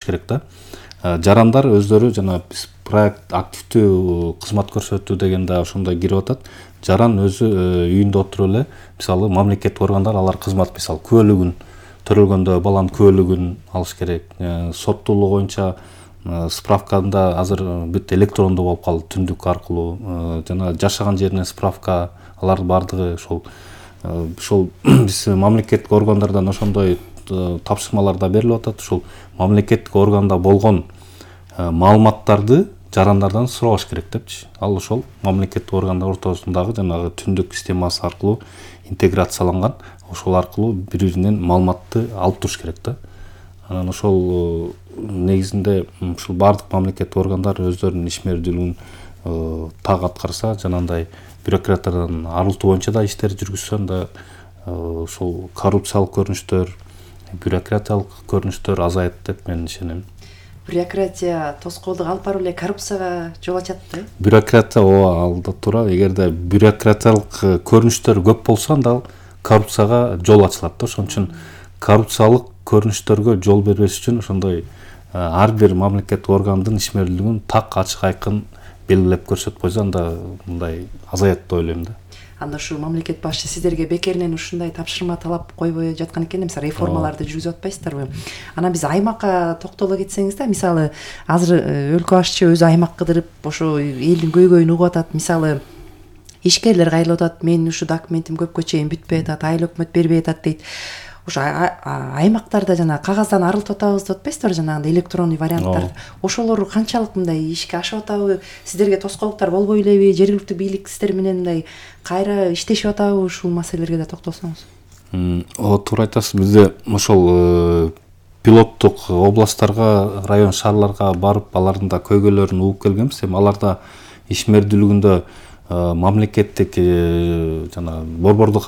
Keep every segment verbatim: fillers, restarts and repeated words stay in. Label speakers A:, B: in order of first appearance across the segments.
A: керек да. Жарандар өздөрү жана биз проект активдүү кызмат көрсөтүү деген да ошондой кирип атат. Жаран өзү үйүндө отуруп эле мисалы мамлекеттик органдар алар кызмат мисалы күбөлүгүн төрөлгөндө баланын күбөлүгүн алыш керек. Соттуулук боюнча справканда азыр бүт электрондуу болуп калды, түндүк аркылуу жана жашаган жеринен справка, алардын бардыгы ошол ошол биз мамлекеттик органдардан ошондой тапшырмалар да берилип атат. Ушул мамлекеттик органда болгон маалыматтарды жарандардан сураш керек депчи. Ал ошол мамлекеттик органдар ортосундагы жанагы түндүк системасы аркылуу интеграцияланган, ошол аркылуу бири-биринен маалыматты алып туруш керек да. Анан ошол негизинде ушул бардык мамлекеттик органдар өздөрүнүн ишмердүүлүгүн так аткарса, жанагындай бюрократиядан арылтуу боюнча да иштер жүргүзсөн да ошол коррупциялык көрүнүштөр, бюрократиялык көрүнүштөр азайат деп мен ишенем.
B: Бюрократия тоскоолдук алып барып эле коррупцияга жол ачат да.
A: Бюрократия ооба алда тура. Эгерде бюрократиялык көрүнүштөр көп болсо, анда коррупцияга жол ачылат да. Ошон үчүн коррупциялык көрүнүштөргө жол бербеш үчүн ошондой ар бир мамлекеттик органдын ишмердүүлүгүн так ачык айкын белгилеп көрсөтүп койсо, анда мындай азаят деп ойлойм да.
B: Анда ушу мамлекет башчы сиздерге бекеринен ушундай тапшырма талап койбой жаткан экен, мисалы реформаларды жүргүзүп атпайсыздарбы? Анан биз аймакка токтоло кетсеңиз да, мисалы азыр өлкө башчы өзү аймак кыдырып, ошо элдин көйгөйүн угуп атат. Мисалы ишкерлер кайрылып атат, менин ушу документим көпкө чейин бүтпөй атат, айыл өкмөт бербей атат дейт. Ошо аймактарда жана кагаздан арылтып атабыз деп атпайсыздар, жанагындай электронный варианттар. Ошолор канчалык мындай ишке ашып атабы? Сиздерге тоскоолдуктар болбой элеби? Жергиликтүү бийлик сиздер менен мындай кайра иштешип атабы? Ушул маселелерге да токтолсоңуз.
A: Ооба, туура айтасыз. Бизде ошол пилоттук областтарга, район шаарларга барып, алардын да көйгөйлөрүн угуп келгенбиз. Эми аларда ишмердүүлүгүндө мамлекеттик жана борбордук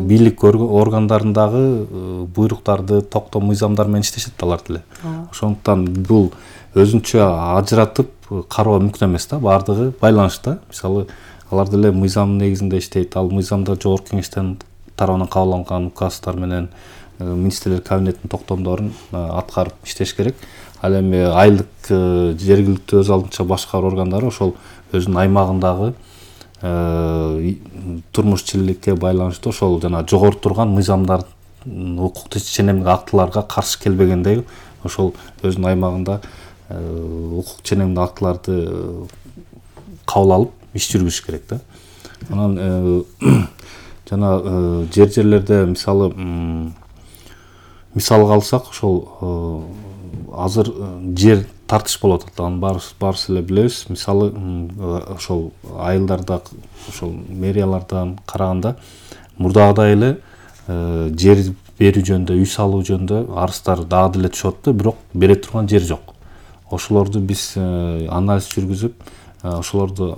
A: бийлик органдарындагы буйруктарды, токтом, мыйзамдар менен иштешет алар деле. Ошондуктан бул өзүнчө ажыратып кароо мүмкүн эмес да, бардыгы байланышта. Мисалы, алар деле мыйзам негизинде иштейт. Ал мыйзамда жогорку кеңештен тарабынан кабыл алынган указдар менен министрлер кабинетинин токтомдорун аткарып иштеш керек. Ал эми айылдык жергиликтүү өз алдынча башкаруу органдары ошол өзүнүн аймагындагы турмуш-тиричиликке байланыштуу ошол жана жогору турган мыйзамдар, укуктук ченемдик актыларга каршы келбегендей ошол өзүнүн аймагында укук ченемдик актыларды кабыл алып иш жүргүзүш керек да. Анан жана жер жерлерде мисалы мисалга алсак, ошол азыр жер тартыш болуп атат. Анын баарыбыз эле билебиз. Мисалы ошол айылдарда, ошол мэриялардан караганда мурдагыдай эле жер берүү жөнүндө, үй салуу жөнүндө арыздар дагы деле түшүп атты, бирок бере турган жер жок. Ошолорду биз анализ жүргүзүп, ошолорду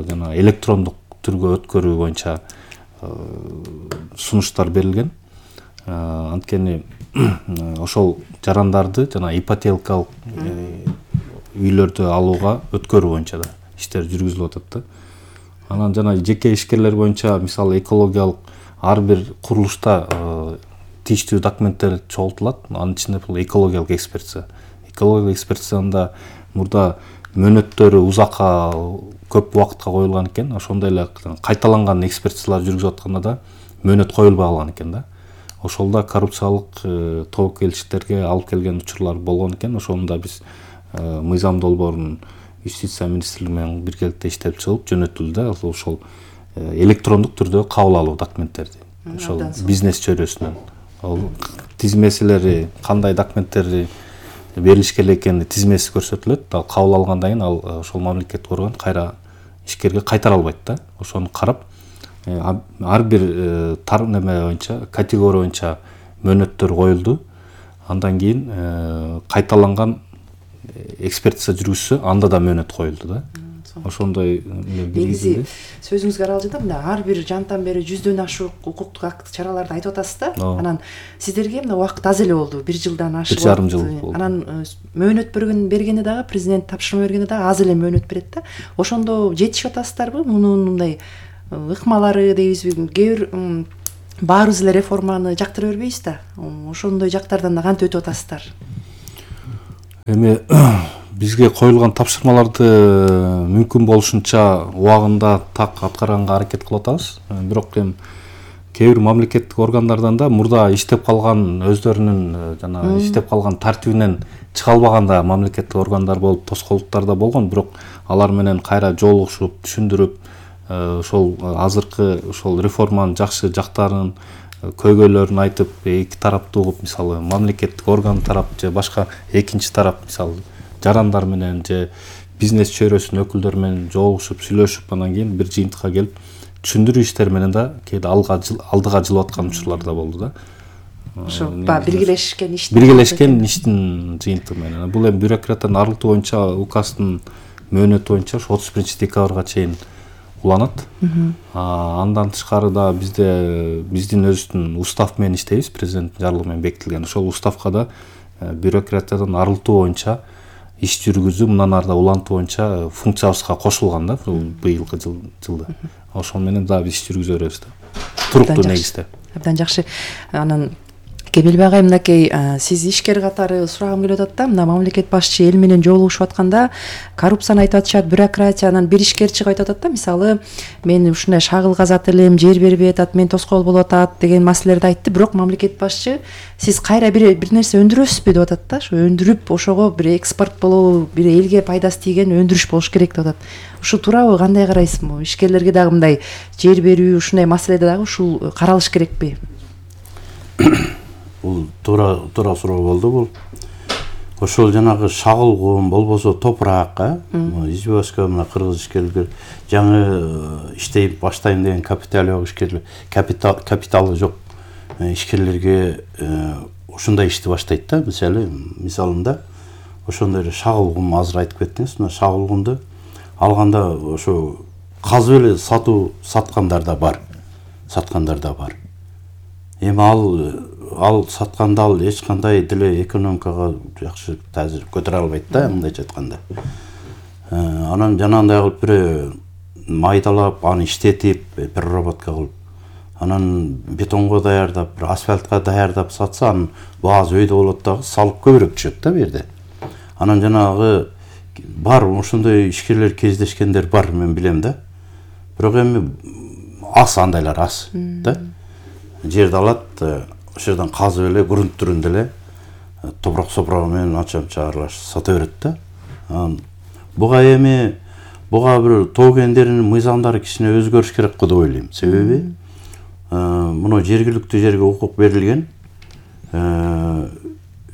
A: жана электрондук түргө өткөрүү боюнча сунуштар берилген. Анткени ошол жарандарды жана ипотекалык үйлөрдү алууга өткөрүү боюнча да иштер жүргүзүлүп атат да. Анан жана жеке ишкерлер боюнча мисалы экологиялык ар бир курулушта тийиштүү документтер чогултулат. Анын ичинде бул экологиялык экспертиза. Экологиялык экспертизада мурда мөөнөттөрү узакка, көп убакытка коюлган экен. Ошондой эле кайталанган экспертизалар жүргүзүп атканда да мөөнөт коюлбай калган экен да. Ошолда коррупциялык тобокелчиликтерге алып келген учурлар болгон экен. Ошону да биз мыйзам долбоорун юстиция министрлиги менен биргеликте иштеп чыгып жөнөтүлдү да. Ошол электрондук түрдө кабыл алуу документтерди. Ошол бизнес чөйрөсүнөн. Ал тизмеселери, кандай документтерди берилиш керек экени тизмеси көрсөтүлөт. Ал кабыл алгандан кийин ал ошол мамлекеттик орган кайра ишкерге кайтара албайт да. Ошону карап, ар бир тар неме боюнча, категория боюнча мөөнөттөр коюлду. Андан кийин кайталанган экспертиза жүргүзсө, анда да мөөнөт коюлду да. Ошондой
B: негизи сөзүңүзгө аралжында мында ар бир жандан бери жүздөн ашык укуктук акт чараларды айтып атасыз да. Анан сиздерге мына убакыт аз эле болду, бир жылдан ашык.
A: бир жарым жыл болду.
B: Анан мөөнөт берген бергени дагы, президент тапшырма бергени дагы аз эле мөөнөт берет да. Ошондо жетишип атасыздарбы? Мунун мындай ыкмалары дейбизби? Кээ бир баарыбыз эле реформаны жактыра бербейбиз да. Ошондой жактардан да кантип өтүп атасыздар?
A: Эми бизге коюлган тапшырмаларды мүмкүн болушунча убагында так аткарганга аракет кылып атабыз. Бирок эми кээ бир мамлекеттик органдардан да мурда иштеп калган өздөрүнүн жана иштеп калган тартибинен чыга албаган да мамлекеттик органдар болуп, тоскоолдуктар да болгон. Бирок алар менен кайра жолугушуп, түшүндүрүп, ошол азыркы ошол реформанын жакшы жактарын, көйгөйлөрүн айтып, эки тараптуу кылып, мисалы мамлекеттик орган тарап же башка экинчи тарап, мисалы жарандар менен же бизнес чөйрөсүнүн өкүлдөрү менен жолугушуп, сүйлөшүп, анан кийин бир жыйынтыкка келип түшүндүрүү иштери менен да кээде алга алдыга жылып аткан учурлар да болду да.
B: Ошо баягы биргелешкен иштин
A: биргелешкен иштин жыйынтыгы менен. Бул эми бюрократияны арылтуу боюнча указдын мөөнөтү боюнча отуз биринчи декабрга чейин уланат. Андан тышкары да бизде биздин өзүбүздүн устав менен иштейбиз, президенттин жарлыгы менен бекитилген. Ошол уставка да бюрократиядан арылтуу боюнча иш жүргүзүү, мындан ары да улантуу боюнча функциябызга кошулган да быйылкы жылда. Ошол менен да биз иш жүргүзө беребиз да. Туруктуу негизде.
B: Абдан жакшы. Анан Кемелбек агай, мынакей сиз ишкер катары сурагым келип атат да, мына мамлекет башчы эл менен жолугушуп атканда коррупцияны айтып атышат, бюрократиянан бир ишкер чыгып айтып атат да, мисалы мен ушундай шагыл казат элем, жер бербей атат, мен тоскоол болуп атат деген маселелерди айтты. Бирок мамлекет башчы сиз кайра бир бир нерсе өндүрөсүзбү деп атат да. Ошо өндүрүп, ошого бир экспорт болобу, бир элге пайдасы тийген өндүрүш болуш керек деп атат. Ушул туурабы, кандай карайсыз? Ишкерлерге дагы мындай жер берүү, ушундай маселеде дагы ушул каралыш керекпи?
C: Бул туура туура суроо болду. Бул ошол жанагы шагылгун болбосо топурак, избашка мына кыргыз ишкерлер жаңы иштей баштайм деген капиталы жок ишкерлер, капитал капиталы жок ишкерлерге ушундай ишти баштайт да. Мисалы мисалында ошондой эле шагылгун, азыр айтып кеттиңиз, мына шагылгунду алганда ошо казып эле сатуу саткандар да бар. Саткандар да бар. Эми ал ал сатканда ал эч кандай деле экономикага жакшы таасир көтөрө албайт да, мындайча айтканда. Анан жанагындай кылып бир майдалап, аны иштетип, переработка кылып, анан бетонго даярдап, бир асфальтка даярдап сатса, анын баасы өйдө болот дагы, салык көбүрөөк түшөт да бу жерде. Анан жанагы бар ошондой ишкерлер кездешкендер бар, мен билем да. Бирок эми аз андайлар аз да. Жерди алат, ошол жерден казып эле, грунт түрүндө эле топурак сопурагы менен анча-мынча аралашып сата берет да. Буга эми буга бир тоо кендеринин мыйзамдары кичине өзгөрүш керек го деп ойлойм. Себеби муну жергиликтүү жерге укук берилген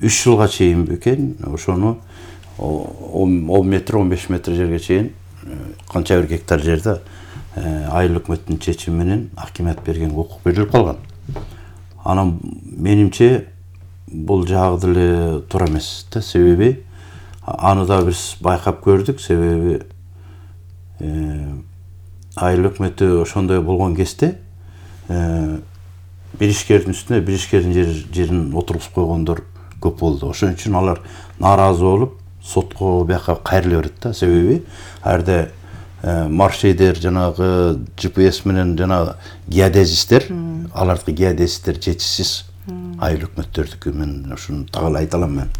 C: үч жылга чейин бекен, ошону он метр, он беш метр жерге чейин канча бир гектар жерде айыл өкмөттүн чечими менен акимат берген укук берилип калган. Анан менимче бул жагы деле туура эмес да. Себеби аны да биз байкап көрдүк. Себеби айыл өкмөтү ошондой болгон кезде бир ишкердин үстүнө бир ишкердин жерин отургузуп койгондор көп болду. Ошон үчүн алар нааразы болуп сотко бияка кайрыла берет да. Себеби ар маршейдер, жанагы джи пи эс менен жана геодезисттер, алардыкы геодезисттер жетишсиз айыл өкмөттөрдүкү, мен ушуну так айта алам мен.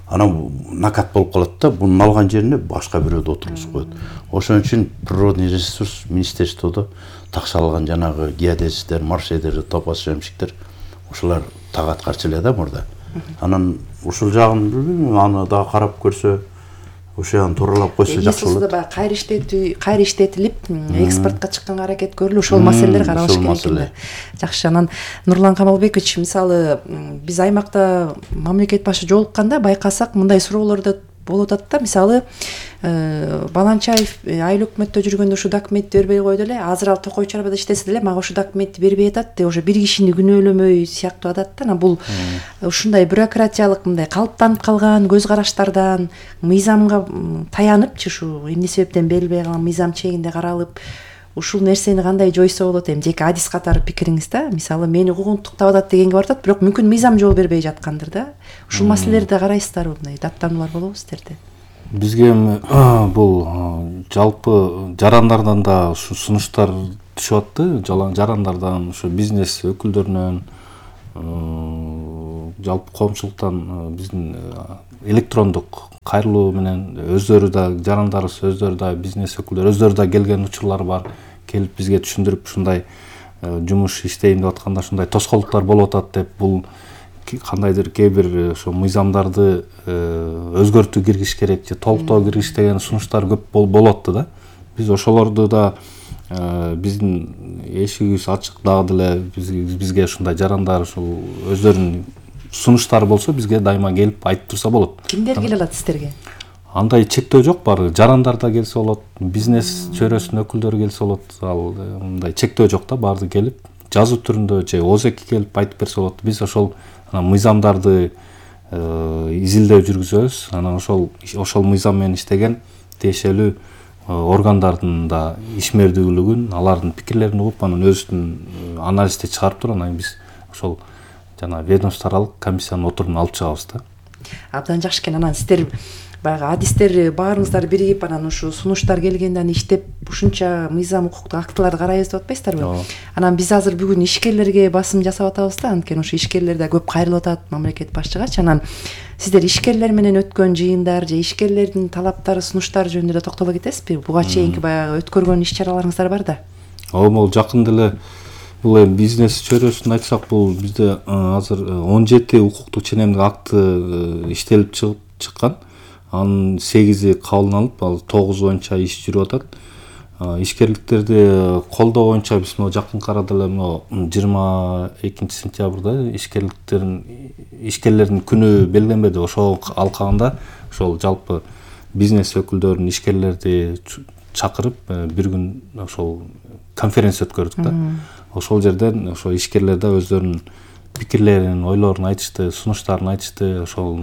C: Анан накат болуп калат да, бунун алган жерине башка бирөөдү отургузуп коет. Ошон үчүн природный ресурс министерстводо такшалган жанагы геодезисттер, маршейдер, топоз жемшиктер, ушулар так аткарчу эле да мурда. Анан ушул жагын билбейм, аны дагы карап көрсө, ошону тууралап койсо жакшы болот.
B: Баягы кайра иштетүү, кайра иштетилип, экспортко чыкканга аракет көрүлүп, ошол маселелер каралыш керек экен. Жакшы. Анан Нурлан Камалбекович, мисалы биз аймакта мамлекет башы жолукканда байкасак, мындай суроолор да болуп атат да. Мисалы Баланчаев айыл өкмөттө жүргөндө ушу документти бербей койду эле, азыр ал Токой чарбада иштесе деле мага ушу документти бербей атат деп, ошо бир кишини күнөөлөмөй сыяктуу атат да. Анан бул ушундай бюрократиялык мындай калыптанып калган көз караштардан, мыйзамга таяныпчы, ушу эмне себептен берилбей калган мыйзам чегинде каралып, ушул нерсени кандай жойсо болот? Эми жеке адис катары пикириңиз да. Мисалы мени укугунтуктап атат дегенге барып атат, бирок мүмкүн мыйзам жол бербей жаткандыр да. Ушул маселелерди карайсыздарбы? Мындай даттануулар болобу сиздерде?
A: Бизге эми бул жалпы жарандардан да ушу сунуштар түшүп атты. Жарандардан, ушу бизнес өкүлдөрүнөн, жалпы коомчулуктан биздин электрондук кайрылуу менен өздөрү да жарандарыбыз өздөрү да бизнес өкүлдөрү өздөрү да келген учурлар бар, келип бизге түшүндүрүп ушундай жумуш иштейм деп атканда ушундай тоскоолдуктар болуп атат деп, бул кандайдыр кээ бир ошо мыйзамдарды өзгөртүү киргизиш керек же толуктоо киргизиш деген сунуштар көп болуп атты да. Биз ошолорду да биздин эшигибиз ачык, дагы деле бизге ушундай жарандар ушул өздөрүнүн сунуштары болсо бизге дайыма келип айтып турса болот.
B: Кимдер келе алат сиздерге?
A: Андай чектөө жок, баары жарандар да келсе болот, бизнес чөйрөсүнүн өкүлдөрү келсе болот. Ал мындай чектөө жок да, баарды келип жазуу түрүндө же озеки келип айтып берсе болот. Биз ошол мыйзамдарды изилдөө жүргүзөбүз. Анан ошол ошол мыйзам менен иштеген тиешелүү органдардын да ишмердүүлүгүн, алардын пикирлерин угуп, анан өзүбүздүн анализди чыгарып туруп, анан биз ошол жана ведомствоаралык комиссиянын отурумун алып чыгабыз да.
B: Абдан жакшы экен. Анан сиздер баягы адистер баарыңыздар биригип, анан ушу сунуштар келгенде иштеп ушунча мыйзам укуктук актыларды карайбыз деп атпайсыздарбы? Анан биз азыр бүгүн ишкерлерге басым жасап атабыз да, анткени ошо ишкерлер да көп кайрылып атат мамлекет башчыгачы. Анан сиздер ишкерлер менен өткөн жыйындар же ишкерлердин талаптары, сунуштары жөнүндө да токтоло кетесизби? Буга чейинки баягы өткөргөн иш-чараларыңыздар бар да.
A: Ооба, могу жакын деле бул эми бизнес чөйрөсүн айтсак, бул бизде азыр он жети укуктук ченемдик акты иштелип чыгып чыккан. Анын сегизи кабыл алынып, ал тогуз боюнча иш жүрүп атат. Ишкерликтерди колдоо боюнча биз могу жакынкы арада эле могу жыйырма экинчи сентябрда ишкерликтердин ишкерлердин күнү белгиленбеди. Ошол алкагында ошол жалпы бизнес өкүлдөрүн, ишкерлерди чакырып бир күн ошол конференция өткөрдүк да. Ошол жерден ошо ишкерлер да өздөрүнүн пикирлерин, ойлорун айтышты, сунуштарын айтышты. Ошол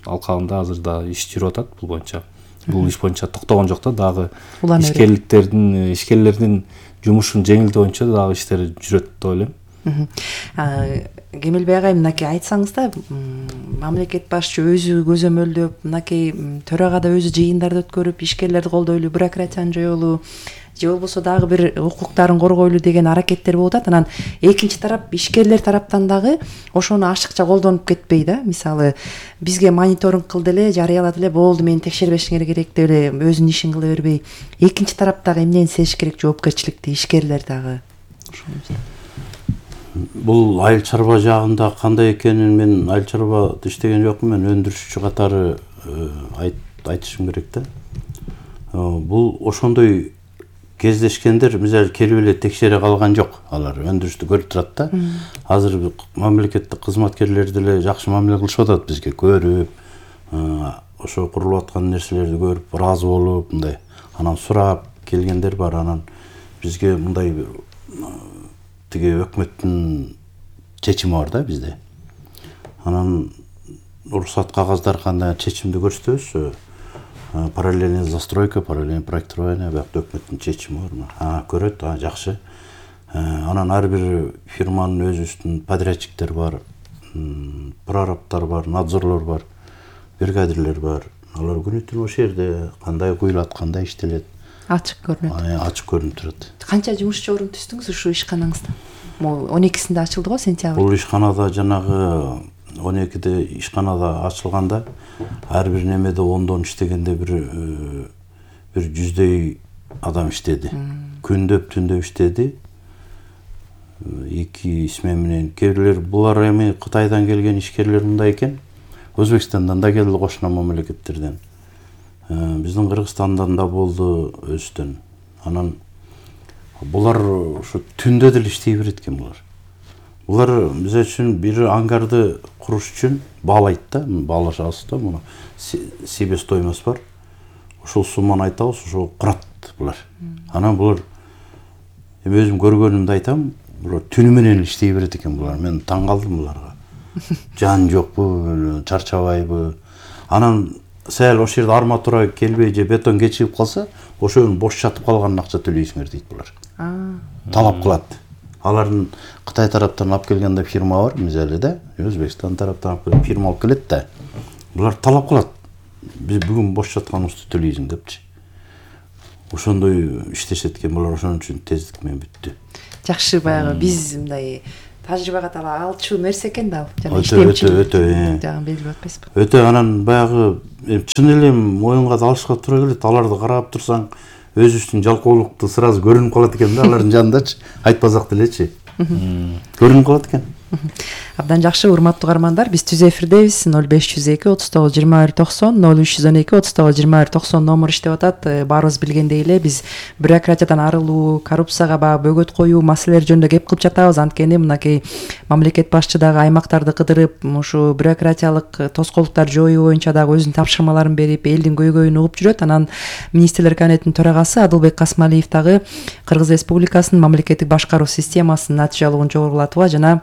A: алкагында азыр да иш жүрүп атат бул боюнча. Бул иш боюнча токтогон жок да, дагы ишкерликтердин, ишкерлердин жумушун жеңилдөө боюнча дагы иштер жүрөт деп ойлойм.
B: Кемелбей агай, мынакей айтсаңыз да, мамлекет башчы өзү көзөмөлдөп, мынакей төрагада өзү жыйындарды өткөрүп, ишкерлерди колдойлуу, бюрократияны жоюлуу же болбосо дагы бир укуктарын коргойлуу деген аракеттер болуп атат. Анан экинчи тарап, ишкерлер тараптан дагы ошону ашыкча колдонуп кетпей да. Мисалы, бизге мониторинг кыл деле, жарыялады эле, болду, мени текшербешиңер керек деп эле өзүнүн ишин кыла бербей, экинчи тарап дагы эмнени сезиш керек, жоопкерчиликти, ишкерлер дагы?
C: Бул айыл чарба жагында кандай экенин мен айыл чарбада иштеген жокмун, мен өндүрүшчү катары айтышым керек да. Бул ошондой кездешкендер мисалы келип эле текшере калган жок. Алар өндүрүштү көрүп турат да. Азыр мамлекеттик кызматкерлер деле жакшы мамиле кылышып атат бизге, көрүп, ошо курулуп аткан нерселерди көрүп, ыраазы болуп, мындай анан сурап келгендер бар. Анан бизге мындай тиги өкмөттүн чечими бар да бизде. Анан уруксат кагаздар кандай чечимди көрсөтөбүз. Параллельная застройка, параллельное проектирование, бакта өкмөттүн чечими бар. А, көрөт, а, жакшы. Анан ар бир фирманын өзүбүздүн подрядчиктер бар, прорабтар бар, надзорлор бар, бригадирлер бар. Алар күнү түнү ошол жерде кандай куюлат, кандай иштелет.
B: Ачык көрүнөт.
C: Ачык көрүнүп турат.
B: Канча жумушчу орун түздүңүз ушу ишканаңызда? Могу он экисинде ачылды го, сентябрь.
C: Бул ишканада жанагы он экиде ишканада ачылганда ар бир немеде ондон иштегенде бир бир жүздөй адам иштеди. Күндөп, түндөп иштеди. Эки исме менен. Кээ бирлер булар эми Кытайдан келген ишкерлер мындай экен. Өзбекстандан да келди, кошуна мамлекеттерден. Биздин Кыргызстандан да болду, өстөн. Анан булар ушу түндө деле иштей берет экен булар. Булар биз үчүн бир ангарды куруш үчүн баалайт да, баалашабыз да, муну себестоимость бар. Ошол сумманы айтабыз, ошо курат булар. Анан булар эми өзүм көргөнүмдү айтам, булар түнү менен иштей берет экен булар. Мен таң калдым буларга. Жан жокпу, чарчабайбы. Анан сәл ошол жерде арматура келбей же бетон кечигип калса, ошонун бош жатып калганын акча төлөйсүңөр дейт булар. Талап кылат. Алардын Кытай тараптан алып келгенде фирма бар, мисалы да, Өзбекстан тараптан алып фирма алып келет да. Булар талап кылат. Биз бүгүн бош жатканыбызды төлөйсүң депчи. Ошондой иштешет экен булар, ошон үчүн тездик менен бүттү.
B: Жакшы, баягы биз мындай тажрыйбага дагы алчу нерсе экен да ал.
C: Жана иштемчилик
B: жагын белгилеп атпайсызбы?
C: Өтө анан баягы чын эле моюнга да алышка туура келет. Аларды карап турсаң, өзүбүздүн жалкоолукту сразу көрүнүп калат экен да, алардын жанындачы, айтпасак делечи. Көрүнүп калат экен.
B: Абдан жакшы, урматтуу угармандар, биз түз эфирдебиз. ноль беш жүз эки отуз тогуз жыйырма бир токсон, ноль үч жүз он эки отуз тогуз жыйырма бир токсон номер иштеп атат. Баарыбыз билгендей эле биз бюрократиядан арылуу, коррупцияга баягы бөгөт коюу маселелери жөнүндө кеп кылып жатабыз. Анткени мынакей мамлекет башчы дагы аймактарды кыдырып, ушу бюрократиялык тоскоолдуктарды жоюу боюнча дагы өзүнүн тапшырмаларын берип, элдин көйгөйүн угуп жүрөт. Анан министрлер кабинетинин төрагасы Адылбек Касмалиев дагы Кыргыз Республикасынын мамлекеттик башкаруу системасынын натыйжалуулугун жогорулатууга жана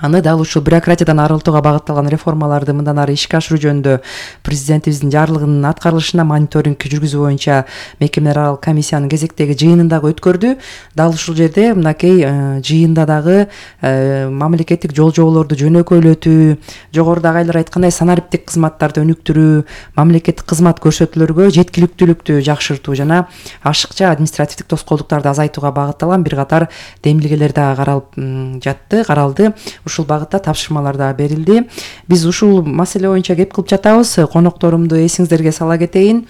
B: аны дал ушул бюрократиядан арылтууга багытталган реформаларды мындан ары ишке ашыруу жөнүндө президентибиздин жарлыгынын аткарылышына мониторинг жүргүзүү боюнча мекемелер аралык комиссиянын кезектеги жыйынын дагы өткөрдү. Дал ушул жерде мынакей жыйында дагы мамлекеттик жол жоболорду жөнөкөйлөтүү, жогорудагы айлар айткандай санариптик кызматтарды өнүктүрүү, мамлекеттик кызмат көрсөтүүлөргө жеткиликтүүлүктү жакшыртуу жана ашыкча административдик тоскоолдуктарды азайтууга багытталган бир катар демилгелер дагы каралып жатты, каралды. Ушул багытта тапшырмалар да берилди. Биз ушул маселе боюнча кеп кылып жатабыз. Конокторумду эсиңиздерге сала кетейин.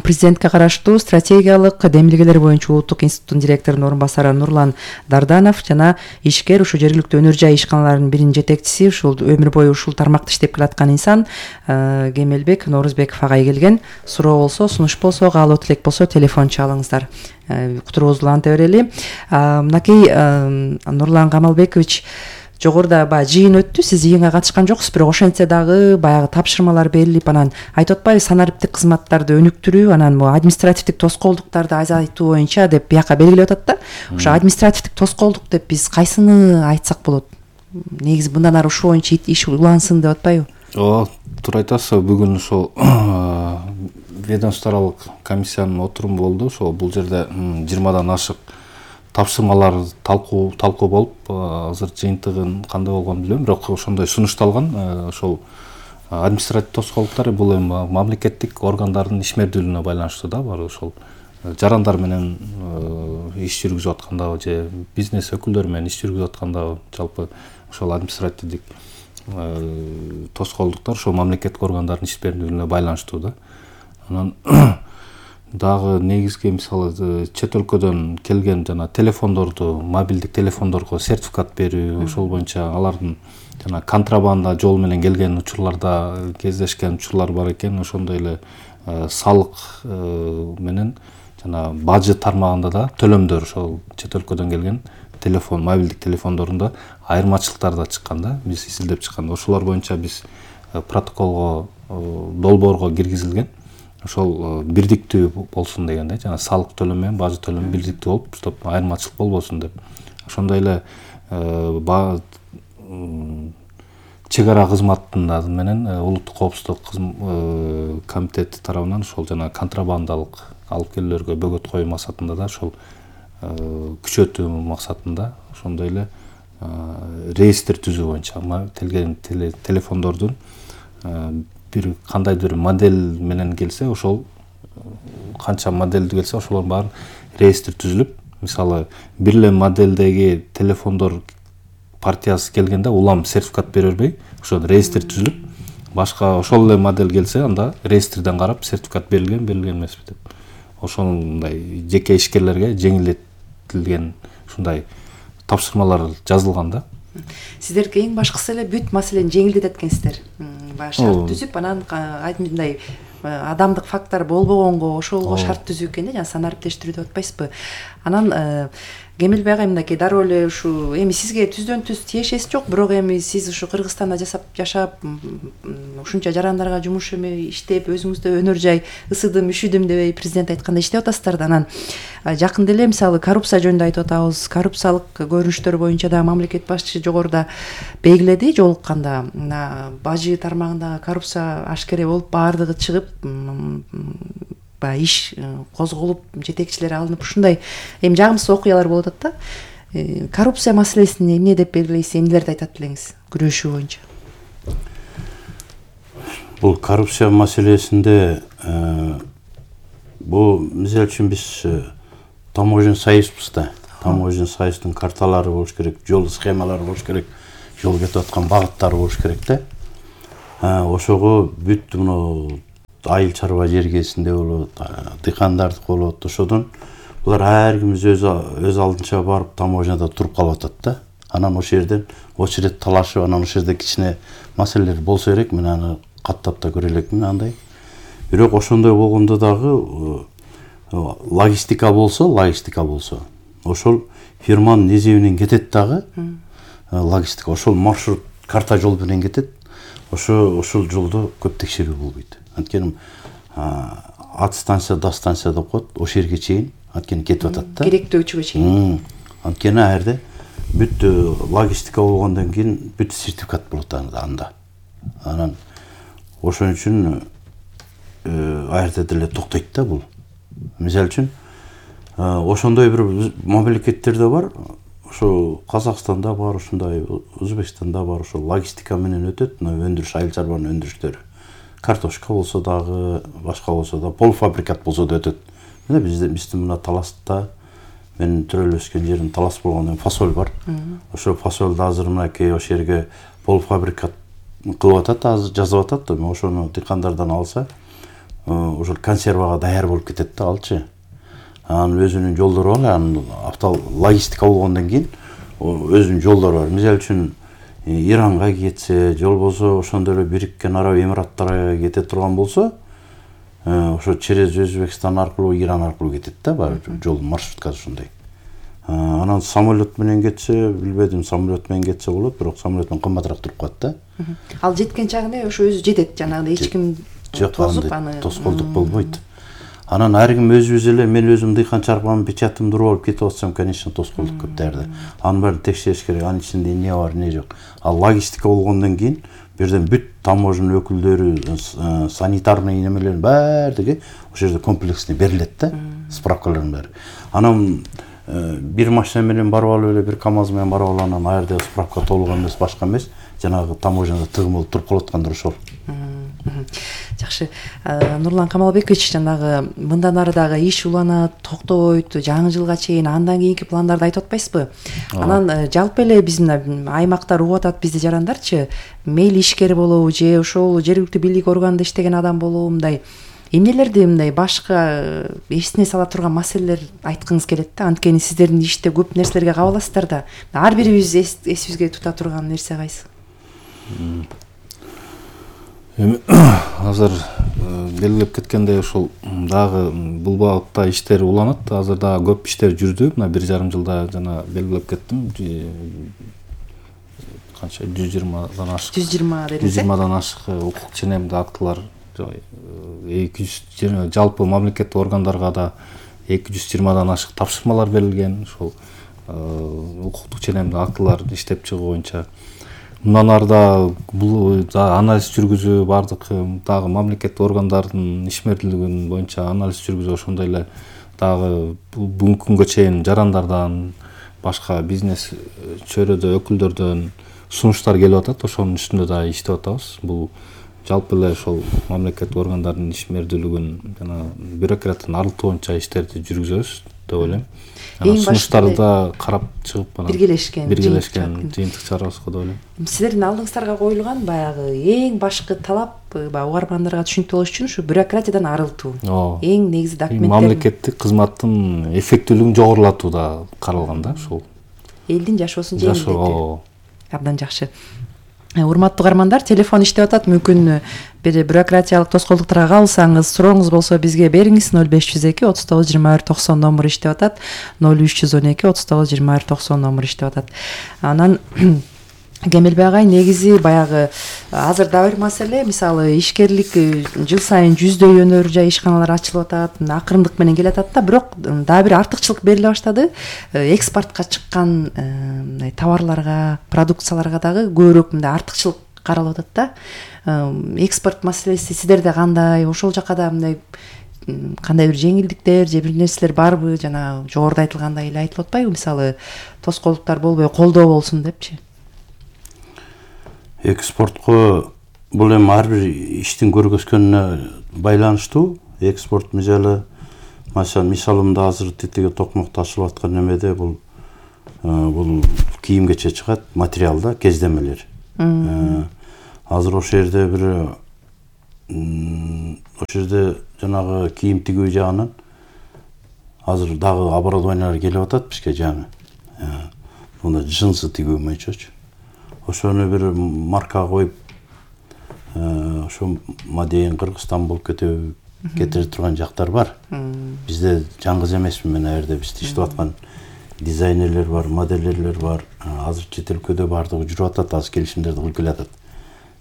B: Президентке караштуу стратегиялык демилгелер боюнча улуттук институттун директорунун орун басары Нурлан Дарданов жана ишкер ушу жергиликтүү өнөр жай ишканаларынын биринин жетекчиси, ушул өмүр бою ушул тармакта иштеп келаткан инсан Кемелбек Норузбеков агай келген. Суроо болсо, сунуш болсо, каалоо тилек болсо телефон чалыңыздар. Кутурубузду уланта берели. Мынакей Нурлан Камалбекович, жогоруда баягы жыйын өттү, сиз жыйынга катышкан жоксуз, бирок ошентсе дагы баягы тапшырмалар берилип, анан айтып атпайбы, санариптик кызматтарды өнүктүрүү, анан могу административдик тоскоолдуктарды азайтуу боюнча деп бияка белгилеп атат да. Ошо административдик тоскоолдук деп биз кайсыны айтсак болот? Негизи мындан ары ушул боюнча иш улансын деп атпайбы?
A: Ооба, туура айтасыз. Бүгүн ошол ведомство аралык комиссиянын отуруму болду. Ошол бул жерде жыйырмадан ашык тапшырмалар талкуу талкуу болуп, азыр жыйынтыгын кандай болгонун билбейм, бирок ошондой сунушталган. Ошол административдик тоскоолдуктар бул эми мамлекеттик органдардын ишмердүүлүгүнө байланыштуу да, бар ошол жарандар менен иш жүргүзүп аткандагы же бизнес өкүлдөрү менен иш жүргүзүп аткандагы жалпы ошол административдик тоскоолдуктар ошол мамлекеттик органдардын ишмердүүлүгүнө байланыштуу да. Анан дагы негизги мисалы чет өлкөдөн келген жана телефондорду, мобилдик телефондорго сертификат берүү, ошол боюнча алардын жана контрабанда жол менен келген учурларда кездешкен учурлар бар экен. Ошондой эле салык менен жана бажы тармагында да төлөмдөр ошол чет өлкөдөн келген телефон, мобилдик телефондорунда айырмачылыктар да чыккан да. Биз изилдеп чыкканда ошолор боюнча биз протоколго, долбоорго киргизилген. Ошол бирдиктүү болсун деген да, жана салык төлөм менен бажы төлөм бирдиктүү болуп, стоп айырмачылык болбосун деп. Ошондой эле чек ара кызматында менен улуттук коопсуздук комитети тарабынан ошол жана контрабандалык алып келүүлөргө бөгөт коюу максатында да ошол күчөтүү максатында ошондой эле реестр түзүү боюнча келген телефондордун бир кандайдыр модель менен келсе, ошол канча модельди келсе, ошолордун баарын реестр түзүлүп, мисалы бир эле модельдеги телефондор партиясы келгенде улам сертификат бере бербей, ошол реестр түзүлүп, башка ошол эле модель келсе, анда реестрден карап сертификат берилген, берилген эмеспи деп. Ошондой жеке ишкерлерге жеңилдетилген ушундай тапшырмалар жазылган да.
B: Сиздер эң башкысы эле бүт маселени жеңилдетет экенсиздер. Баягы шарт түзүп, анан мындай адамдык фактор болбогонго ошолго шарт түзүү экен да, жана санариптештирүү деп атпайсызбы. Анан Кемелбек агай мынакей дароо эле ушу эми сизге түздөн түз тиешеси жок, бирок эми сиз ушу Кыргызстанда жашап жашап ушунча жарандарга жумуш эме иштеп, өзүңүздө өнөр жай ысыдым, үшүдүм дебей президент айткандай иштеп атасыздар да. Анан жакында эле мисалы коррупция жөнүндө айтып атабыз. Коррупциялык көрүнүштөр боюнча да мамлекет башчысы жогоруда белгиледи жолукканда. Бажы тармагындагы коррупция ашкере болуп, баардыгы чыгып, баягы иш козголуп, жетекчилери алынып, ушундай эми жагымсыз окуялар болуп атат да. Коррупция маселесин эмне деп белгилейсиз, эмнелерди айтат элеңиз күрөшүү боюнча?
C: Бул коррупция маселесинде бул мисалы үчүн биз таможня союзбуз да. таможня союздун карталары болуш керек, жол схемалары болуш керек, жол кетип аткан багыттары болуш керек да. Ошого бүт мына айыл чарба жергесинде болот, дыйкандардык болот, ошодон булар ар кимиз өз өз алдынча барып таможняда туруп калып атат да. Анан ошол жерден очередь талашып, анан ошол жерде кичине маселелер болсо керек, мен аны каттап да көрө элекмин андай. Бирок ошондой болгондо дагы логистика болсо, логистика болсо, ошол фирманын эсебинен кетет дагы. Логистика ошол маршрут карта жол менен кетет. Ошо ошол жолдо көп текшерүү болбойт. Анткени от станция до станция деп коет, ошол жерге чейин анткени кетип атат да.
B: Керектөөчүгө чейин.
C: Анткени ал жерде бүт логистика болгондон кийин бүт сертификат болот анда. Анан ошон үчүн ал жерде деле токтойт да бул. Мисалы үчүн ошондой бир мамлекеттерде бар, ошо Казакстанда бар, ошондой Өзбекстанда бар, ошо логистика менен өтөт, өндүрүш, айыл чарбанын өндүрүштөрү. Картошка болсо дагы, башка болсо да, полуфабрикат болсо да өтөт. Мына бизде биздин мына Таласта, мен төрөлүп өскөн жерим Талас болгондон фасоль бар. Ошо фасолду азыр мынакей ошол жерге полуфабрикат кылып атат, азыр жазып атат да, ошону дыйкандардан алса, ошол консервага даяр болуп кетет да алчы. Анын өзүнүн жолдору бар, анын автол логистика болгондон кийин өзүнүн жолдору бар. Мисалы үчүн Иранга кетсе, жол болсо ошондой эле Бириккен Араб Эмираттарга кете турган болсо, ошо через Өзбекстан аркылуу, Иран аркылуу кетет да, бар жол маршруткасы ушундай. Анан самолет менен кетсе, билбедим, самолет менен кетсе болот, бирок самолет менен кымбатыраак туруп калат да.
B: Ал жеткен чагында ошо өзү жетет, жанагындай эч ким тосуп аны
C: тоскоолдук болбойт. Анан ар ким өзүбүз эле, мен өзүм дыйкан чарбанын печатымды уруп алып кетип атсам, конечно, тоскоолдук көп дээрде. Анын баарын текшериш керек, анын ичинде эмне бар, эмне жок. Ал логистика болгондон кийин бирден бүт таможня өкүлдөрү, санитарный немелердин баардыгы ошол жерде комплексно берилет да, справкалардын баары. Анан бир машина менен барып алып эле, бир КАМАЗ менен барып алып, анан ал жерде справка толук эмес, башка эмес, жанагы таможняда тыгым болуп туруп калып аткандыр ошол.
B: Жакшы. Нурлан Камалбекович, жанагы мындан ары дагы иш уланат, токтобойт, жаңы жылга чейин андан кийинки пландарды айтып атпайсызбы? Анан жалпы эле биздин аймактар угуп атат, бизди жарандарчы, мейли ишкер болобу же ошол жергиликтүү бийлик органында иштеген адам болобу, мындай эмнелерди мындай башка эсине сала турган маселелер айткыңыз келет да? Анткени сиздердин иште көп нерселерге кабыласыздар да. Ар бирибиз эсибизге тута турган нерсе кайсы?
A: Эми азыр белгилеп кеткендей ошол дагы бул багытта иштер уланат. Азыр дагы көп иштер жүрдү. Мына бир жарым жылда жана белгилеп кеттим. Канча жүз жыйырмадан ашык.
B: жүз жыйырма дедиңиз.
A: жүз жыйырмадан ашык укук ченемдүү актылар, эки жүз жалпы мамлекеттик органдарга да эки жүз жыйырмадан ашык тапшырмалар берилген. Ошол укуктук ченемдүү актылар иштеп чыгуу боюнча. Мындан ары бул анализ жүргүзүү, бардык дагы мамлекеттик органдардын ишмердүүлүгүн боюнча анализ жүргүзүү, ошондой эле дагы бүгүнкү күнгө чейин жарандардан, башка бизнес чөйрөдө өкүлдөрдөн сунуштар келип атат, ошонун үстүндө да иштеп атабыз. Бул жалпы эле ошол мамлекеттик органдардын ишмердүүлүгүн жана бюрократияны арылтуу боюнча иштерди жүргүзөбүз деп ойлойм. Сунуштарды да карап чыгып анан
B: биргелешкен
A: биргелешкен жыйынтык чыгарабыз деп ойлойм.
B: Сиздердин алдыңыздарга коюлган баягы эң башкы талап, баягы угармандарга түшүнүктүү болуш үчүн ушу бюрократиядан арылтуу. Эң негизи документтер,
A: мамлекеттик кызматтын эффектүүлүгүн жогорулатуу да каралган да, ушул.
B: Элдин жашоосун жеңилдетүү. Абдан жакшы. Урматтуу угармандар, телефон иштеп атат. Мүмкүн бир бюрократиялык тоскоолдуктарга кабылсаңыз, сурооңуз болсо бизге бериңиз. ноль беш жүз эки отуз тогуз жыйырма бир токсон номер иштеп атат. ноль үч жүз он эки отуз тогуз жыйырма бир токсон номер иштеп атат. Анан Кемелбек агай, негизи баягы азыр да бир маселе, мисалы ишкерлик жыл сайын жүздөй өнөр жай ишканалар ачылып атат, акырындык менен келе атат да, бирок дагы бир артыкчылык бериле баштады. Экспортко чыккан товарларга, продукцияларга дагы көбүрөөк мындай артыкчылык каралып атат да. Экспорт маселеси сиздерде кандай? Ошол жака да мындай кандай бир жеңилдиктер же бир нерселер барбы? Жана жогоруда айтылгандай эле айтылып атпайбы? Мисалы тоскоолдуктар болбой колдоо болсун депчи.
C: Экспортко бул эми ар бир иштин көргөзгөнүнө байланыштуу. Экспорт мисалы, мисалымда азыр тетиги токмокто ачылып аткан немеде бул бул кийим кече чыгат, материалда кездемелер. Азыр ошол жерде бир ошол жерде жанагы кийим тигүү жагынан азыр дагы оборудованиялар келип атат бизге жаңы. Мына джинсы тигүү боюнчачы. Ошону бир марка коюп, ошо мадейин Кыргызстан болуп кете кетире турган жактар бар. Бизде жаңгыз эмесмин мен аерде бизде иштеп аткан дизайнерлер бар, модельерлер бар. Азыр чет өлкөдө бардыгы жүрүп атат, азыр келишимдерди кылып келатат.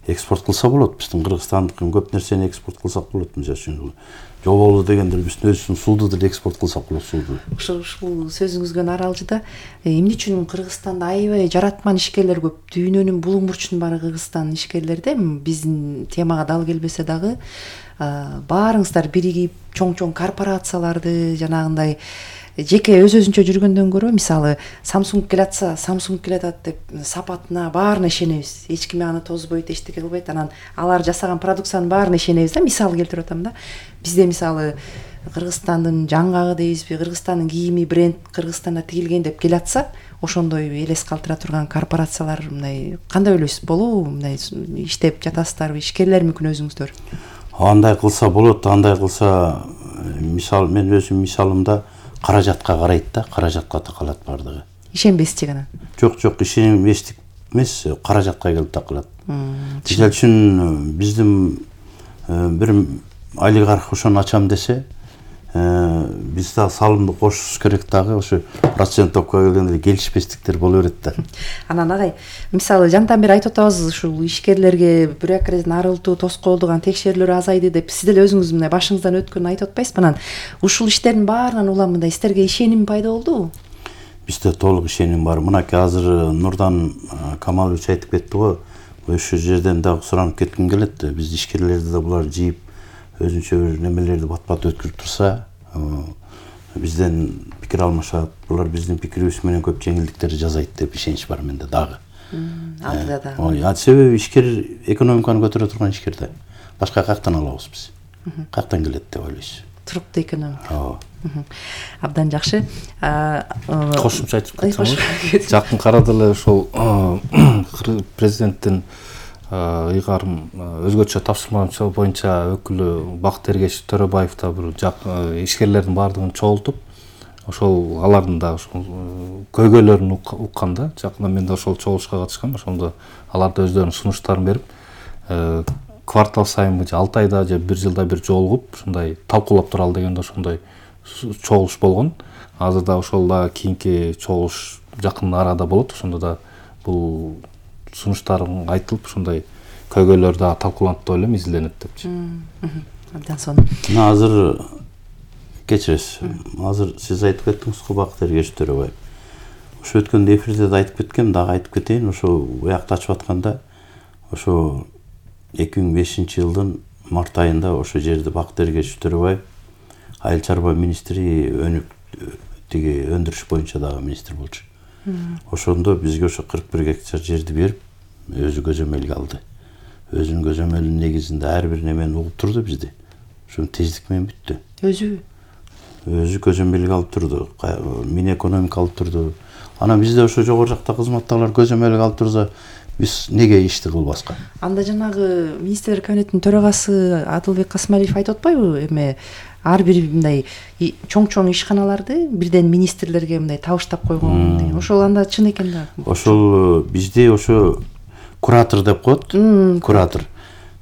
C: Экспорт кылса болот. Биздин Кыргызстандыкын көп нерсени экспорт кылсак болот. Мисалы үчүн жоболу дегендер биздин өзүбүздүн сууду деле экспорт кылсак болот, сууду.
B: Ушул ушул сөзүңүзгө аралжыда эмне үчүн Кыргызстанда аябай жаратман ишкерлер көп? Дүйнөнүн булуң бурчунун баары Кыргызстан ишкерлерде. Биздин темага дал келбесе дагы баарыңыздар биригип чоң-чоң корпорацияларды жанагындай жеке өз өзүнчө жүргөндөн көрө, мисалы Samsung келатса, Samsung келатат деп сапатына баарына ишенебиз. Эч ким аны тозбойт, эчтеке кылбайт. Анан алар жасаган продукциянын баарына ишенебиз да. Мисал келтирип атам да. Бизде мисалы Кыргызстандын жаңгагы дейбизби, Кыргызстандын кийими бренд Кыргызстанда тигилген деп келатса, ошондой элес калтыра турган корпорациялар мындай кандай ойлойсуз? Болобу? Мындай иштеп жатасыздарбы? Ишкерлер мүмкүн өзүңүздөр?
C: Андай кылса болот, андай кылса, мисал мен өзүм мисалымда каражатка карайт да, каражатка такалат бардыгы.
B: Ишенбесчи гана.
C: Жок, жок, ишенбестик эмес, каражатка келип такалат. Мисалы үчүн биздин бир олигарх ошону ачам десе, биз да салымды кошушубуз керек дагы, ошо процент топко келгенде келишпестиктер боло берет да.
B: Анан агай, мисалы жантан бери айтып атабыз, ушул ишкерлерге бюрократиядан арылтуу, тоскоолдук, текшерүүлөр азайды деп, сиз деле өзүңүз мындай башыңыздан өткөнүн айтып атпайсызбы? Анан ушул иштердин баарынан улам мындай сиздерге ишеним пайда болдубу?
C: Бизде толук ишеним бар. Мынакей азыр Нурдан Камалович айтып кетти го, ошол жерден дагы суранып кетким келет. Биз ишкерлерди да булар жийип, өзүнчө бир немелерди бат-бат өткөрүп турса, бизден пикир алмашат, булар биздин пикирибиз менен көп жеңилдиктерди жасайт деп ишенич бар менде дагы.
B: Алдыда да.
C: Ой, себеби ишкер экономиканы көтөрө турган ишкер да. Башка каяктан алабыз биз? Каяктан келет деп ойлойсуз?
B: Туруктуу экономика.
C: Ооба.
B: Абдан жакшы.
A: Кошумча айтып кетсем, жакын карада эле ошол президенттин ыйгарым өзгөчө тапшырмасы боюнча өкүлү Бакыт Эргеш Төрөбаев да бир ишкерлердин баардыгын чогултуп, ошол алардын да ошол көйгөйлөрүн укканда, жакында мен да ошол чогулушка катышкам, ошондо алар да өздөрүнүн сунуштарын берип, квартал сайынбы же алты айда же бир жылда бир жолугуп, ушундай талкуулап туралы дегенде ошондой чогулуш болгон. Азыр да ошол да кийинки чогулуш жакын арада болот. Ошондо да бул сунуштарын айтылып, ушундай көйгөйлөр да талкууланат деп ойлойм, изиленет депчи.
B: Абдан сонун.
C: Мына азыр кечиресиз. Азыр сиз айтып кеттиңиз го Бакыт Эргеш Төрөбаев. Ошо өткөндө эфирде да айтып кеткем, дагы айтып кетейин. Ошо уякта ачып атканда, ошо эки миң бешинчи жылдын март айында ошо жерде Бакыт Эргеш Төрөбаев айыл чарба министри, өнүк тиги өндүрүш боюнча дагы министр болчу. Ошондо бизге ошо кырк бир гектар жерди берип, өзү көзөмөлгө алды. Өзүнүн көзөмөлүнүн негизинде ар бир немени угуп турду бизди. Ошо тездик менен бүттү. Өзү өзү көзөмөлгө алып турду, мини экономика алып турду. Анан бизде ошо жогору жакта кызматтагылар көзөмөлгө алып турса, биз неге ишти кылбаска?
B: Анда жанагы министрлер кабинетинин төрагасы Адылбек Касмалиев айтып атпайбы, эме ар бир мындай чоң-чоң ишканаларды бирден министрлерге мындай табыштап койгон деген. Ошол анда чын экен да.
C: Ошол бизде ошо куратор деп коет. Куратор.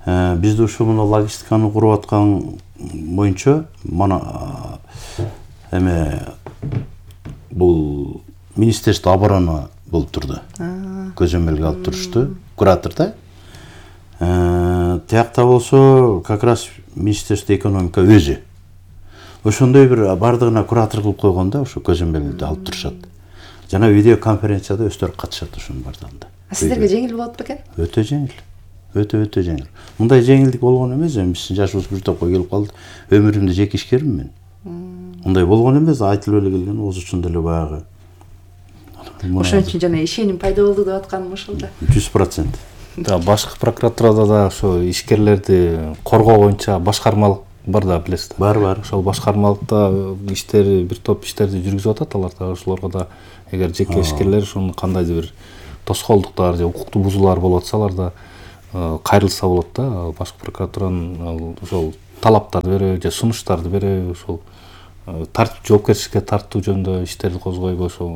C: Бизде ошо мына логистиканы куруп аткан боюнча мана эме бул Министерство обороны болуп турду. Көзөмөлгө алып турушту. Куратор да. Тиякта болсо как раз Министерство экономика өзү. Ошондой бир бардыгына куратор кылып койгон да, ошо көзөмөлдү алып турушат. Жана видео конференцияда өздөрү катышат ошонун бардыгында.
B: А сиздерге жеңил болот бекен?
C: Өтө жеңил. Өтө өтө жеңил. Мындай жеңилдик болгон эмес, биздин жашыбыз бир топко келип калды. Өмүрүмдө жеке ишкермин мен. Мындай болгон эмес, айтылып эле келген, оозу үчүндө эле баягы.
B: Ошон үчүн жана ишеним пайда болду деп атканым ошол да.
C: жүз процент.
A: Да, башкы прокуратурада да ошо ишкерлерди коргоо боюнча башкармалык бар да, билесиз да.
C: Бар, бар.
A: Ошол башкармалыкта иштери, бир топ иштерди жүргүзүп атат алар да. Ошолорго да эгер жеке ишкерлер ушуну кандайдыр бир тоскоолдуктар же укуктуу бузуулар болуп атса алар да кайрылса болот да. Башкы прокуратуранын ошол талаптарды береби же сунуштарды береби, ошол тартип жоопкерчиликке тартуу жөнүндө иштерди козгойбу, ошол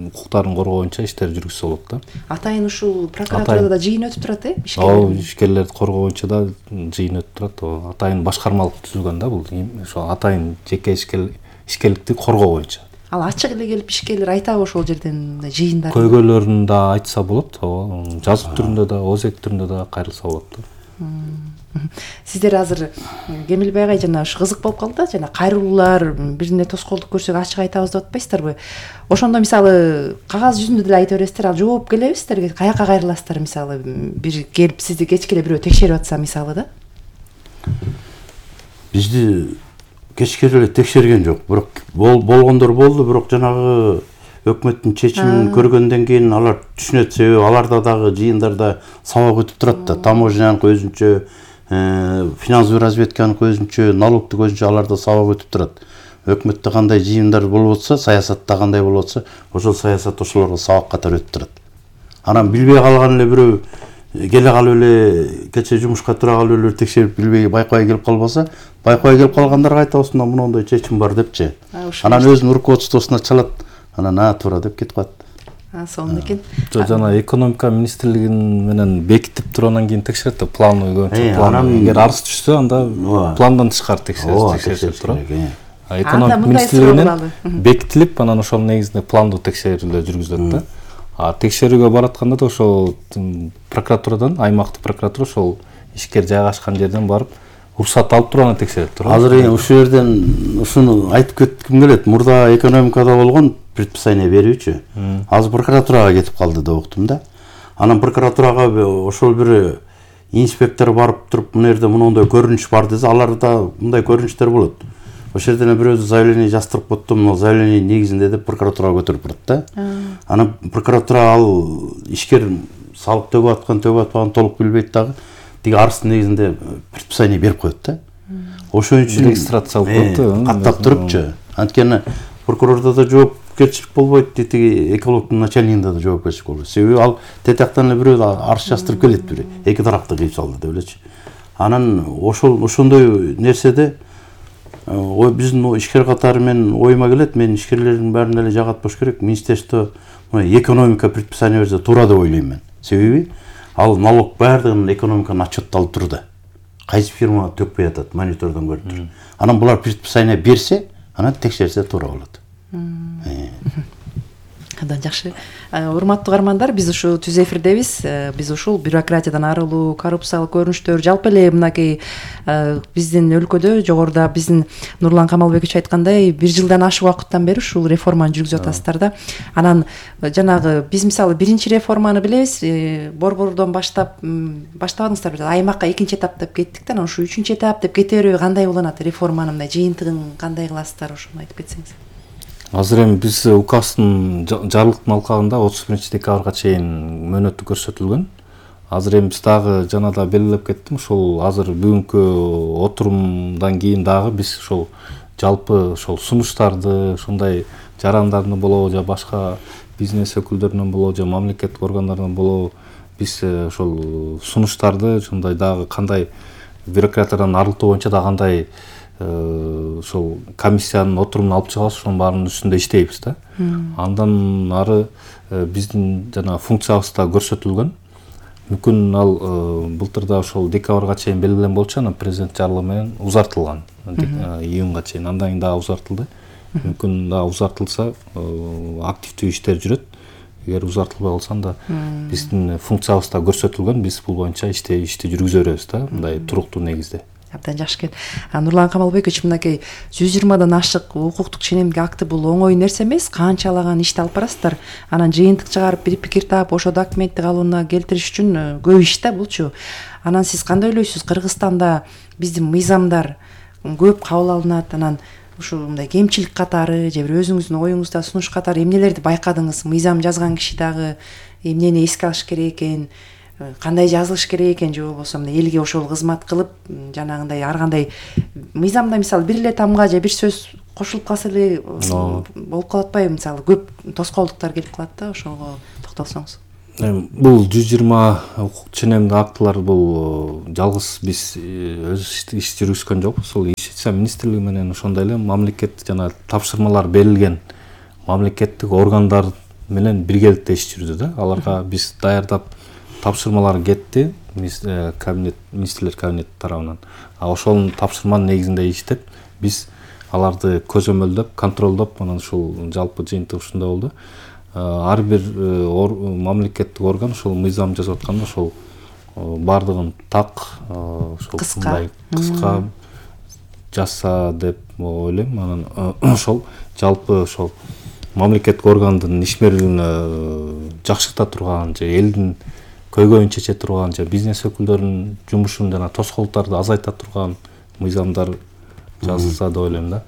A: укуктарын коргоо боюнча иштерди жүргүзсө болот да.
B: Атайын ушул прокуратурада да жыйын өтүп турат, э?
A: Ооба, ишкерлерди коргоо боюнча да жыйын өтүп турат. Атайын башкармалык түзүлгөн да, бул ошол атайын жеке ишкерликти коргоо боюнча.
B: Ал ачык эле келип ишкерлер айтабы ошол жерден жыйындар?
A: Көйгөйлөрүн да айтса болот, ооба. Жазып түрүндө да, озек түрүндө да кайрылса болот да.
B: Сиздер азыр Кемилбай агай жана ушу кызык болуп калды да, жана кайрылуулар бирине тоскоолдук көрсөк ачык айтабыз деп атпайсыздарбы? Ошондо мисалы кагаз жүзүндө деле айта бересиздер, ал жооп келеби сиздерге? Каяка кайрыласыздар мисалы? Бир келип сизди кечке эле бирөө текшерип атса мисалы да?
C: Бизди кечке эле текшерген жок, бирок болгондор болду, бирок жанагы өкмөттүн чечимин көргөндөн кийин алар түшүнөт, себеби аларда дагы жыйындарда сабак өтүп турат да. Таможняныкы өзүнчө, финансовый разведканыкы өзүнчө, налогтук өзүнчө аларда сабак өтүп турат. Өкмөттө кандай жыйындар болуп атса, саясатта кандай болуп атса, ошол саясат ошолорго сабак катары өтүп турат. Анан билбей калган эле бирөө келе калып эле кече жумушка тура калып эле текшерип билбей байкабай келип калбаса, байкабай келип калгандарга айтабыз, мына мондой чечим бар депчи. Анан өзүнүн руководствосуна чалат. Анан а туура деп кетип калат.
B: А, сонун экен.
A: Жана экономика министрлигинин менен бекитип тургандан кийин текшерет да, план план. Эгер арыз түшсө, анда пландан тышкары текшеришет турат. Экономика министрлигинен бекитилип, анан ошол негизинде пландуу текшерүүлөр жүргүзүлөт да. А текшерүүгө баратканда да ошол прокуратурадан, аймактык прокуратура ошол ишкер жайгашкан жерден барып уруксат алып туруп анан текшерип турат.
C: Азыр ушул жерден ушуну айтып кетким келет. Мурда экономикада болгон предписание берүүчү. Азыр прокуратурага кетип калды деп уктум да. Анан прокуратурага ошол бир инспектор барып туруп, мына жерде мондой көрүнүш бар десе, аларда мындай көрүнүштөр болот. Ошол жерден бирөөсү заявление жаздырып коттум, мына заявление негизинде деп прокуратурага көтөрүп барат да. Анан прокуратура ал ишкер салык төгүп аткан, төгүп атпаган толук билбейт дагы. Тиги арыздын негизинде предписание берип коет да. Ошон үчүн
A: регистрация алып коет,
C: каттап турупчу. Анткени прокурордо да жоопкерчилик болбойт, тиги экологдун начальнигинде да жоопкерчилик болбойт. Себеби ал тетяктан эле бирөө арыз жаздырып келет, бир эки тарапты кыйып салды деп элечи. Анан ошол ошондой нерседе ой биздин ишкер катары мен оюма келет, мен ишкерлердин баарына эле жагатпаш керек. Министерство экономика предписание берсе туура деп ойлойм мен. Себеби ал налог баардыгын экономиканы отчетталып турду. Кайсы фирма төкпөй атат, монитордон көрүп тур. Анан булар предписание берсе, анан текшерсе туура болот.
B: Абдан жакшы. Урматтуу угармандар, биз ушул түз эфирдебиз. Биз ушул бюрократиядан арылуу, коррупциялык көрүнүштөр, жалпы эле мынакей биздин өлкөдө жогоруда биздин Нурлан Камалбекович айткандай, бир жылдан ашык убакыттан бери ушул реформаны жүргүзүп атасыздар да. Анан жанагы биз мисалы биринчи реформаны билебиз, борбордон баштап баштабадыңыздар бир аймакка экинчи этап деп кеттик да, анан ушу үчүнчү этап деп кете берүү кандай уланат? Реформанын мындай жыйынтыгын кандай кыласыздар, ошону айтып кетсеңиз.
A: Азыр эми биз указдын жарлыктын алкагында отуз биринчи декабрга чейин мөөнөтү көрсөтүлгөн. Азыр эми биз дагы жана да белгилеп кеттим, ушул азыр бүгүнкү отурумдан кийин дагы биз ошол жалпы ошол сунуштарды, ушундай жарандардын болобу же башка бизнес өкүлдөрүнөн болобу же мамлекеттик органдардан болобу, биз ошол сунуштарды ушундай дагы кандай бюрократиядан арылтуу боюнча да кандай ошол комиссиянын отурумун алып чыгабыз, ошонун баарынын үстүндө иштейбиз да. Андан ары биздин жана функциябызда көрсөтүлгөн. Мүмкүн ал былтыр да ошол декабрга чейин белгилен болчу, анан президент жарлыгы менен узартылган июнга чейин, андан кийин дагы узартылды. Мүмкүн да узартылса активдүү иштер жүрөт. Эгер узартылбай калса анда биздин функциябызда көрсөтүлгөн, биз бул боюнча ишти ишти жүргүзө беребиз да, мындай туруктуу негизде.
B: Абдан жакшы экен. Нурлан Камалбекович, мынакей жүз жыйырмадан ашык укуктук ченемдик акты бул оңой нерсе эмес. Канчалаган ишти алып барасыздар. Анан жыйынтык чыгарып, бир пикир таап, ошо документти калыбына келтириш үчүн көп иш да булчу. Анан сиз кандай ойлойсуз? Кыргызстанда биздин мыйзамдар көп кабыл алынат. Анан ушул мындай кемчилик катары же бир өзүңүздүн оюңузда сунуш катары эмнелерди байкадыңыз? Мыйзам жазган киши дагы эмнени эске алыш керек экен? кандай жазылыш керек экен, же болбосо мына элге ошол кызмат кылып жанагындай ар кандай мыйзамда мисалы бир эле тамга же бир сөз кошулуп калса эле болуп калып атпайбы, мисалы көп тоскоолдуктар келип калат да, ошого токтолсоңуз.
A: Бул жүз жыйырма укук ченемдүү актылар бул жалгыз биз өз иш жүргүзгөн жокпуз. Ошол Юстиция министрлиги менен ошондой эле мамлекет жана тапшырмалар берилген мамлекеттик органдар менен биргеликте иш жүрдү да. Аларга биз даярдап тапшырмалар кетти кабинет, министрлер кабинети тарабынан. А ошол тапшырманын негизинде иштеп, биз аларды көзөмөлдөп, контролдоп, анан ушул жалпы жыйынтык ушундай болду. Ар бир мамлекеттик орган ошол мыйзам жазып атканда ошол бардыгын так, ошол
B: кыска
A: кыска жазса деп ойлойм. Анан ошол жалпы ошол мамлекеттик органдын ишмерлигине жакшырта турган, же элдин көйгөйүн чече турган, же бизнес өкүлдөрүнүн жумушун жана тоскоолдуктарды азайта турган мыйзамдар жазылса деп ойлойм да.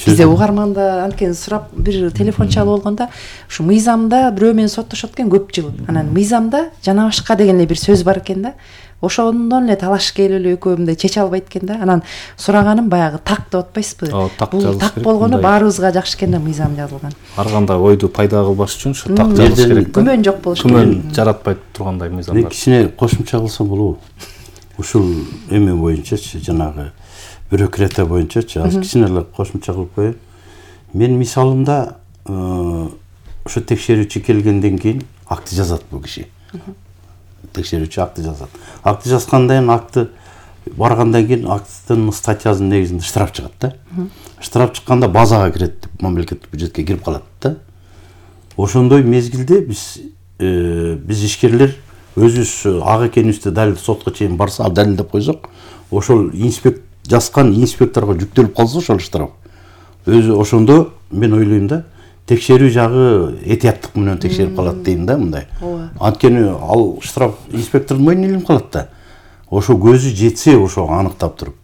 B: Бизде угарманда анткени сурап бир телефон чалып болгондо, ушу мыйзамда бирөө менен соттошот экен көп жыл. Анан мыйзамда жана башка деген эле бир сөз бар экен да. Ошондон эле талашып келип эле экөө мындай чече албайт экен да. Анан сураганым баягы так деп атпайсызбы? Бул так болгону баарыбызга жакшы экен да, мыйзам жазылган.
A: Ар кандай ойду пайда кылбаш үчүн ушу так жазылыш керек да.
B: Күмөн жок болуш керек.
A: Күмөн жаратпайт тургандай мыйзамдар.
C: Мен кичине кошумча кылсам болобу? Ушул эме боюнчачы, жанагы бюрократия боюнчачы аз кичине эле кошумча кылып коеюн. Мен мисалымда ошо текшерүүчү келгенден кийин акты жазат бул киши. Текшерүүчү акты жазат. Акты жазгандан кийин акты баргандан кийин акттын статьясынын негизинде штраф чыгат да. Штраф чыкканда базага кирет, мамлекеттик бюджетке кирип калат да. Ошондой мезгилде биз биз ишкерлер өзүбүз ак экенибизди далил сотко чейин барса, далилдеп койсок, ошол инспектор жазган инспекторго жүктөлүп калса ошол штраф. Өзү ошондо мен ойлойм да, текшерүү жагы этияттык менен текшерип калат дейм да, мындай. Анткени ал штраф инспектордун мойнуна илинип калат да. Ошо көзү жетсе ошо аныктап туруп.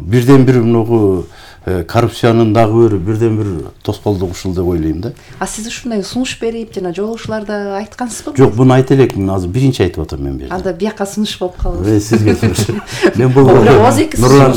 C: Бирден бир мынагу коррупциянын дагы бир бирден бир тоскоолдук ушул деп ойлойм да.
B: А сиз ушундай сунуш берип жана жолугушууларда айткансызбы?
C: Жок, буну айта элекмин, азыр биринчи айтып атам мен бул жерде.
B: Анда бияка сунуш болуп калды.
C: Э, сизге сунуш. Мен бул
A: Нурлан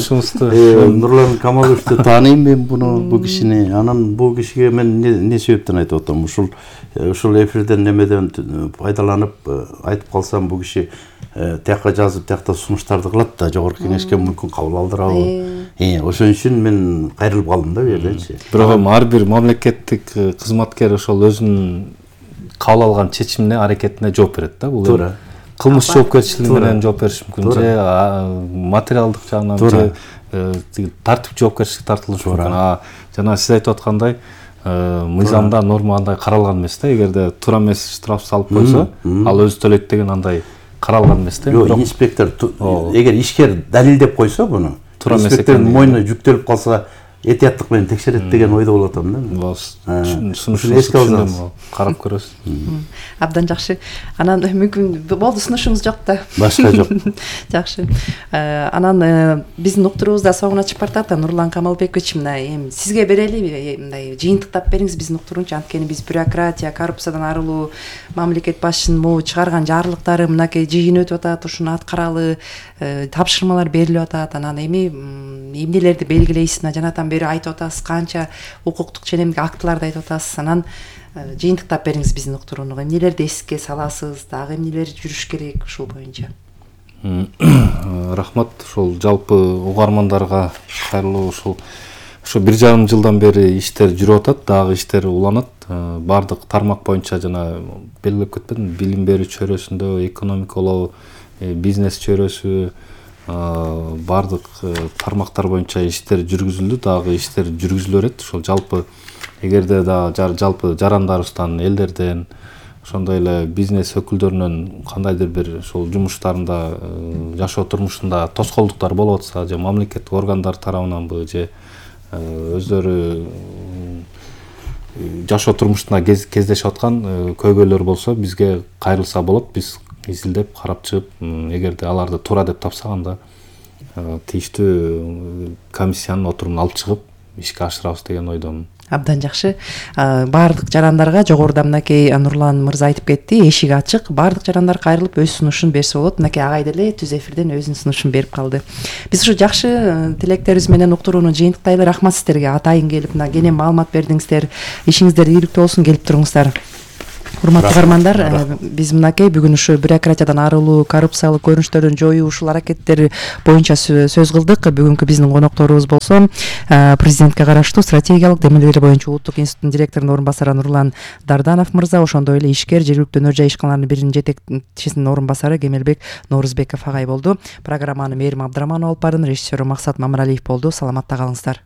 C: Нурлан Камаловичти тааныйм мен буну, бул кишини. Анан бул кишиге мен не себептен айтып атам? Ушул ушул эфирден немеден пайдаланып айтып калсам, бул киши тияка жазып, тиякта сунуштарды кылат да, жогорку кеңешке мүмкүн кабыл алдырабы. Э, ошон үчүн мен кайрылып калдым да бу жерденчи.
A: Бирок ар бир мамлекеттик кызматкер ошол өзүнүн кабыл алган чечимине, аракетине жооп берет да. Бул
C: туура.
A: Кылмыш жоопкерчилиги менен жооп бериш мүмкүн, же материалдык жагынан, же тартип жоопкерчиликке тартылышы мүмкүн. А жана сиз айтып аткандай, мыйзамда норма андай каралган эмес да. Эгерде туура эмес штраф салып койсо, ал өзү төлөйт деген андай каралган эмес да.
C: Жок, инспектор эгер ишкер далилдеп койсо буну, инспектордун мойнуна жүктөлүп калса, этияттык менен текшерет деген ойдо болуп атам да.
A: Сунушуңузду түшүнөм, карап көрөсүз.
B: Абдан жакшы. Анан мүмкүн болду, сунушуңуз жок да.
C: Башка жок.
B: Жакшы. Анан биздин уктуруубузда соңуна чыгып бартат. Нурлан Камалбекович, мына эми сизге берели, мындай жыйынтыктап бериңиз биздин уктуруучу. Анткени биз бюрократия, коррупциядан арылуу, мамлекет башчынын могу чыгарган жарлыктары мынакей жыйын өтүп атат, ушуну аткаралы, тапшырмалар берилип атат. Анан эми эмнелерди белгилейсиз, жанатан бери айтып атасыз, канча укуктук ченемдик актыларды айтып атасыз. Анан жыйынтыктап бериңиз биздин уктурууну. Эмнелерди эске саласыз, дагы эмнелер жүрүш керек ушул боюнча?
A: Рахмат. Ошол жалпы угармандарга кайрылуу, ушул ошо бир жарым жылдан бери иштер жүрүп атат, дагы иштер уланат. Бардык тармак боюнча жана белгилеп кетпедим, билим берүү чөйрөсүндө, экономикалоо, бизнес чөйрөсү, бардык тармактар боюнча иштер жүргүзүлдү, дагы иштер жүргүзүлө берет. Ошол жалпы эгерде да жалпы жарандарыбыздан, элдерден, ошондой эле бизнес өкүлдөрүнөн кандайдыр бир ошол жумуштарында, жашоо турмушунда тоскоолдуктар болуп атса, же мамлекеттик органдар тарабынанбы, же өздөрү жашоо турмушунда кездешип аткан көйгөйлөр болсо, бизге кайрылса болот. Биз изилдеп карап чыгып, эгерде аларды туура деп тапсак, анда тийиштүү комиссиянын отурумун алып чыгып ишке ашырабыз деген ойдомун.
B: Абдан жакшы. Баардык жарандарга жогоруда мынакей Нурлан мырза айтып кетти, эшик ачык. Баардык жарандар кайрылып өз сунушун берсе болот. Мынакей агай деле түз эфирден өзүнүн сунушун берип калды. Биз ушу жакшы тилектерибиз менен уктурууну жыйынтыктайлы. Рахмат сиздерге атайын келип мына кенен маалымат бердиңиздер. Ишиңиздер ийгиликтүү болсун, келип туруңуздар. Урматтуу угармандар, биз мынакей бүгүн ушу бюрократиядан арылуу, коррупциялык көрүнүштөрдөн жоюу ушул аракеттер боюнча сөз кылдык. Бүгүнкү биздин конокторубуз болсо президентке караштуу стратегиялык демилгелер боюнча улуттук институттун директорунун орун басары Нурлан Дарданов мырза, ошондой эле ишкер жергиликтүү өнөр жай ишканаларынын биринин жетекчисинин орун басары Кемелбек Норузбеков агай болду. Программаны Мээрим Абдыраманова алып бардым, режиссеру Максат Мамыралиев болду. Саламатта калыңыздар.